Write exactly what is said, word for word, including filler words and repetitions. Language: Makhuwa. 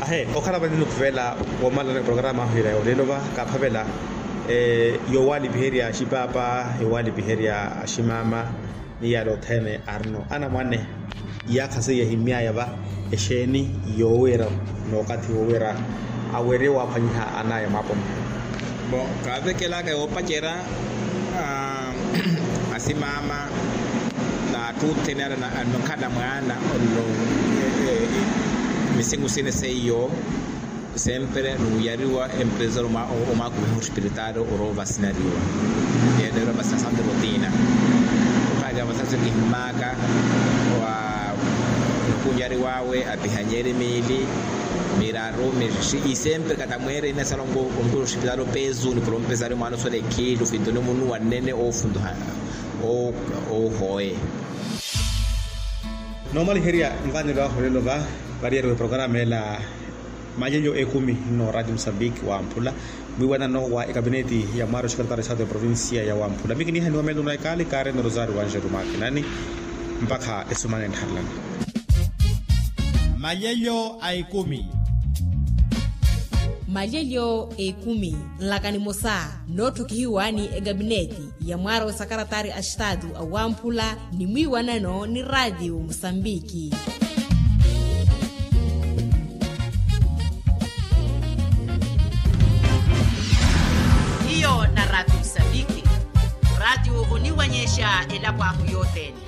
Ahe okhala vani nikhuvela, woomalana eporokaramu ahu ira ya olelo va kaaphavela, yoowalipiherya axipaapa, yoowalipiherya aximama, ni yaale othene arino anamwane. Iyaakha seiya ehimy'aya va, exeeni yoowira n'okathi woowira awerye waaphwanyiha an'aya mwaaponi? Bon, kaavekelaka yoopacerya asimama n'atthu othene ale anokhala mwaana. Misiku sini seiyo sempre nuuyariwa empresa omwaakumiha ospiritaali orowa vasinariwa. Yeettariwa vasina santo rotina. Okaakira vasasi kihimmaka wa nokunyariw'awe apihanyerye miili miraru mixi isempre katamweerene salongo. Ompira ospitali opeesu ni polompesari mwaana osola ekhiili ofintoni munuwa nnene oofuntuha. Oohoye. Noomaliherya nvanelo ahu olelo va variyeriwe porokaramu ela. Malelyo ekumi nno radio musambiki wamphula mwiiwanano wa ekapineti ya mwaari oxikaritari saatu ya provincia ya wamphula mikinihaniwa melo na ekaali kaareno rosario wanjelu makinani. Mpakha esumana enttharelani. Malelyo a ekumi. Malelyo a ekumi nlaka nimosa nootthukihiwani ekapineti ya mwaari osakaratari a staatu a wamphula ni mwiiwanano ni radio musambiki. Hiyo na radio musambiki. Radio oniwanyexa elapo ahu yothene.